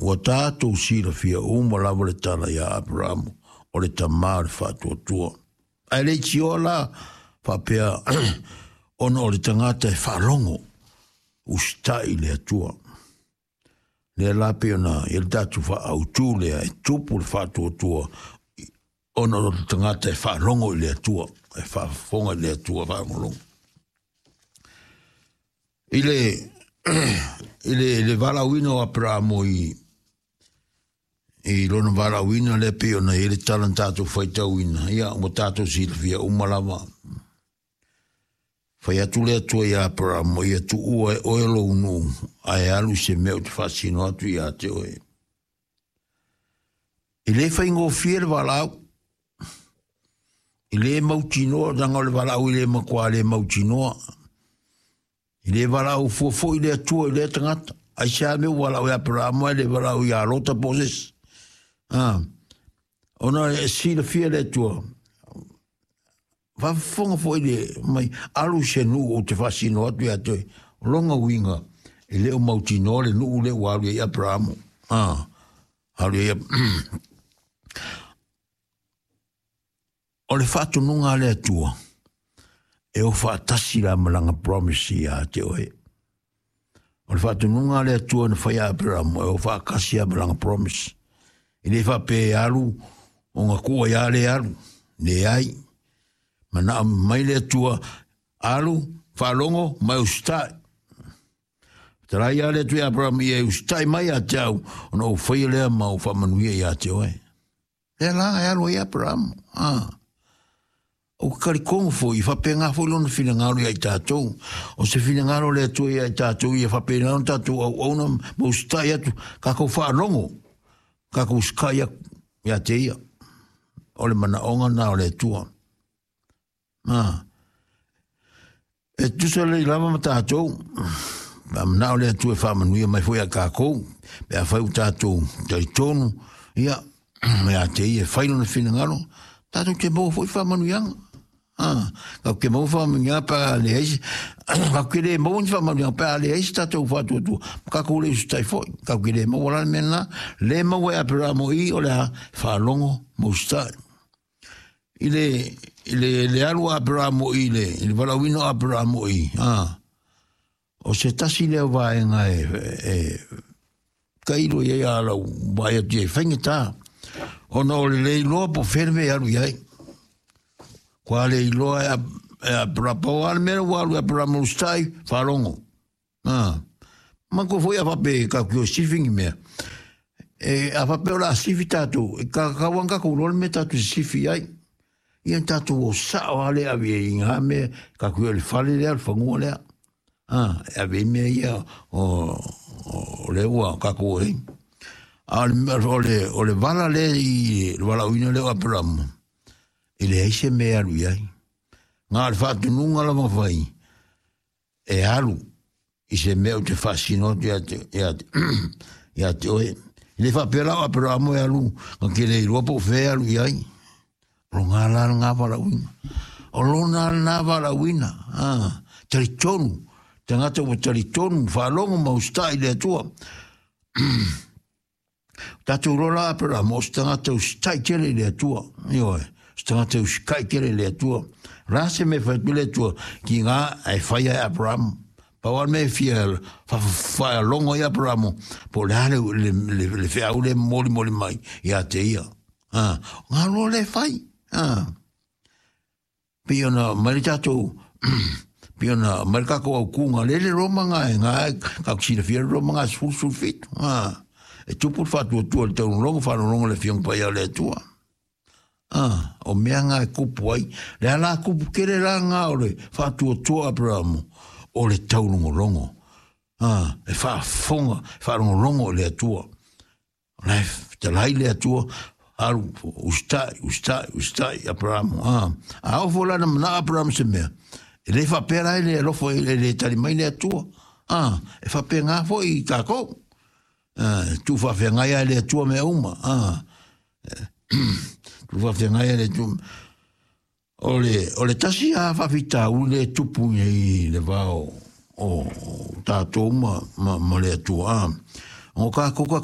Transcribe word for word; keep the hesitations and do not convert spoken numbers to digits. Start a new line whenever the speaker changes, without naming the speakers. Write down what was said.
Ua tatou silafia uma lava le tala ia Aperamo, o le tamā o le faatuatua. Ae le itioa la faapea ona o le tagata e faalogo, usitai i le Atua. Lea la pei ona i ai le tatou faaautu lea e tupu le faatuatua ona o le tagata e faalogo i le Atua, e faafofoga i le Atua faalogologo. I le i le, le valaauina o Aperamo i i lona valaauina lea pei ona i ai le tala na tatou faitauina, ia ua tatou silafia uma lava. Fai atu le Atua ia Aperamo, ia tuua e oe lou nuu, ae alu i se mea ou te faasino atu ia te oe. E le faigofie le valaau, e le mautinoa, leaga o le valaau e le matua le mautinoa. E le valaau fua foi le Atua i lea tagata. Aisea mea ua valaau ia Aperamo ae le valaau ia Lota po o se isi. Ah, ona e silafia le Atua, faafofoga foi le mai, alu i se nuu ou te faasino atu ia te oe. O lona uiga, e le o mautinoa le nuu lea ua alu ai Aperamo. Ah, alu ai O le faatonuga a le Atua, e o faatasi la ma lana promise ia te oe. O le faatonuga a le Atua na fai a Aperamo, e o faatasi a ma lana promise. E le faapea e alu, ona tuu ai a le alu. Leai. Manao mai le Atua, alu, faalogo, ma e usitai. Fetalai ia le Atua ia Aperamo, ia e usitai mai ia te au, ona ou faia lea ma ou faamanuia ia te oe. Lea la e alu ai Aperamo. Ah. Ou te talitonu foi, e faapena foi lona finagalo ia i tatou. O se finagalo o le Atua ia i tatou, ia faapena ona tatou auauna ma usitai atu, tatou faalogo, tatou usitai atu ia te ia. O le manaoga na o le Atua. Ah. E tusa lelei lava ma tatou, pe a manao le Atua e faamanuia mai foi ia tatou, pe afai ua tatou talitonu, ia, ia te ia e fai lona finagalo, tatou te maua foi faamanuiaga. Ah, tatou te maua faamanuiaga pe a leai se, tatou te le maua ni faamanuiaga pe a leai se tatou faatuatua, ma tatou le usitai foi. Tatou te le maua la le mea lena, le maua e Aperamo i o le a faalogo ma usitai. I le, i le, le alu a Aperamo i le, i le valaauina o Aperamo i, ah, o se tasi lea o vaega e, e tailo i ai a lau vaai atu i ai, faigata, ona o le le iloa po o fea le mea e alu i ai. Kua le iloa e, e Aperamo, pau lava le mea ua alu e Aperamo usitai, faalogo. Ah. Manatua foi a faapea e tatou te o e sifi ni mea. E, a faapea o le a sifi tatou, e tatau lava ona tatou iloa le mea tatou te sifi ai. Ia na tatou o sao lava lea e ave ai i ngā mea, tatou o i le fale lea, le fanua lea. Ah, e ave ai mea ia o, o lea ua tatou o ai. A o le, o le, o le vala lea i le valaauina lea o Aperamo, e leai se mea e alu i ai. Na o le faatonuga lava fai, e alu i se mea ou te faasino atu ia te, ia te, ia te oe. E le faapea la o Aperamo e alu, na te le iloa po o fea e alu i ai. O lona la lena valaauina. O lona lena valaauina. Ah, talitonu. Tagata ua talitonu, faalogo ma usitai i le Atua. Tatou iloa la Aperamo, o se tagata usitai tele i le Atua. Ioe, o se tagata usitai tele i le Atua. O le a se mea e fai atu le Atua ki ngā e fai ai Aperamo. Pau lava le mea e fia faalogo ai Aperamo, po o le a le, le, le, le feau lea e molimoli mai ia te ia. Ah, o ngā loa le fai. Ah. Pei ona mai le tatou, pei ona mai le tatou aukunga, lele Roma ngā e ngā e, ka silafia le Roma ngā sefulu sefulu fitu. Ah. E tupu le faatuatua i le taulologo, faalologo le Afioga Paia o le Atua. Ah, o mea ngā e kupu ai. Le ala kupu kele la ngā o le faatuatua Aperamo, o le taulogologo. Ah, e faafofoga, e faalogologo i le Atua. O la e fetalai le Atua, alu, usitai, usitai, usitai, Aperamo. Ah, a oo foi la na manao Aperamo se mea, e le faapea la e le alofa, e le tali mai le Atua. Ah, e faapena foi i tatou. Ah, e tuufaafeagai lava e le Atua mea uma. Ah, tuufaafeagai lava e le Atua. O le, o le tasi lava faafitauli lea e tupu nei i le va o, o tatou ma, ma, ma le Atua. Ah, o tatou